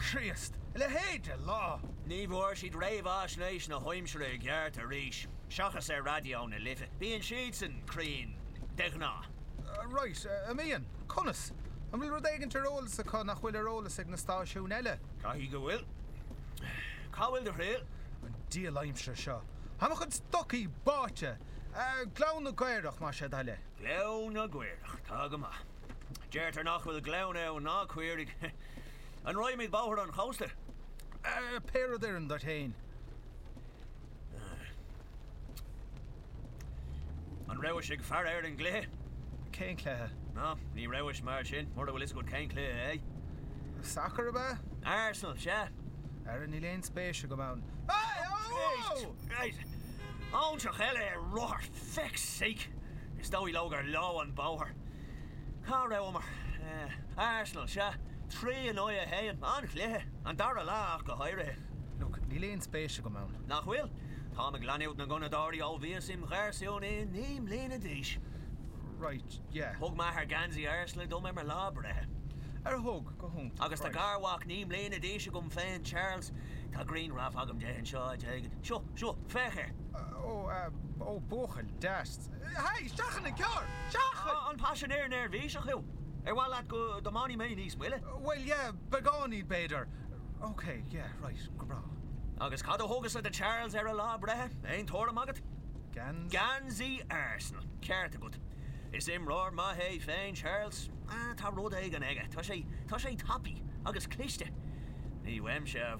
Críost, a leithéid de lá! Ní bhfuair siad réamhaisnéis na haimsire i gceart arís, seachas ar Raidió na Life. Bíonn siadsan cruinn, de ghnáth. Right, an mbíonn? Conas? An bhfuil rud éigint ar eolas acu nach bhfuil ar eolas ag na stáisiúin eile? Caithfidh go bhfuil. Cá bhfuil do thriall? An diabhal aimsir seo! Tá mo chuid stocaí báite! Gleann na gCaorach, más é do thoil é. Gleann na gCaorach, tá go maith. Deirtear nach bhfuil gleann ann ná caoirigh. An raghaimid bóthar an chósta? Pé rud a oireann duit féin. An rabhais ag faire ar an gcluiche? Cén cluiche? Ná, ní rabhais mar sin, mura bhfuil fhios agat cén cluiche é. Sacar ab ea? Arsenal, sea. Ara, níl aon spéis agam ann. Right. Óinseach eile ar rothar, feck's sake! Is dóigh leo gur leo an bóthar. Cá rabhamar? Arsenal, sea. 3 in aghaidh 1. An-chluiche. An dara leath ach go háirithe. Look, níl aon spéis agam ann. Nach bhfuil? Táim ag leanúint na nGunnadóirí ó bhíos im gharsún i 9 mbliana d'aois. Right, yeah. Thug m'athair geansaí Arsenal dom ar mo lá breithe. Ar thug? Go hiontach. Agus tá garmhac 9 mbliana d'aois agam féin, Charles. Tá grianghraf agam de anseo áit éigin. Seo, seo, féach air. Ó, ó, buachaill deas. Hey, seachain an carr! Seachain! An paisinéir neirbhíseach thú? Ar mhaith leat go dtiomáinfidh mé níos moille? Bhuel, yeah, beagáinín, b'fhéidir. Ok, yeah, right, go breá. Agus cad a thugas-sa do Charles ar a lá breithe? Aon tuairim agat? Geansaí? Geansaí Arsenal. Ceart agat. Is imreoir maith é féin, Charles. Ah, tá rud éigin aige. Tá sé, tá sé tapaidh agus cliste. Ní uaimse a.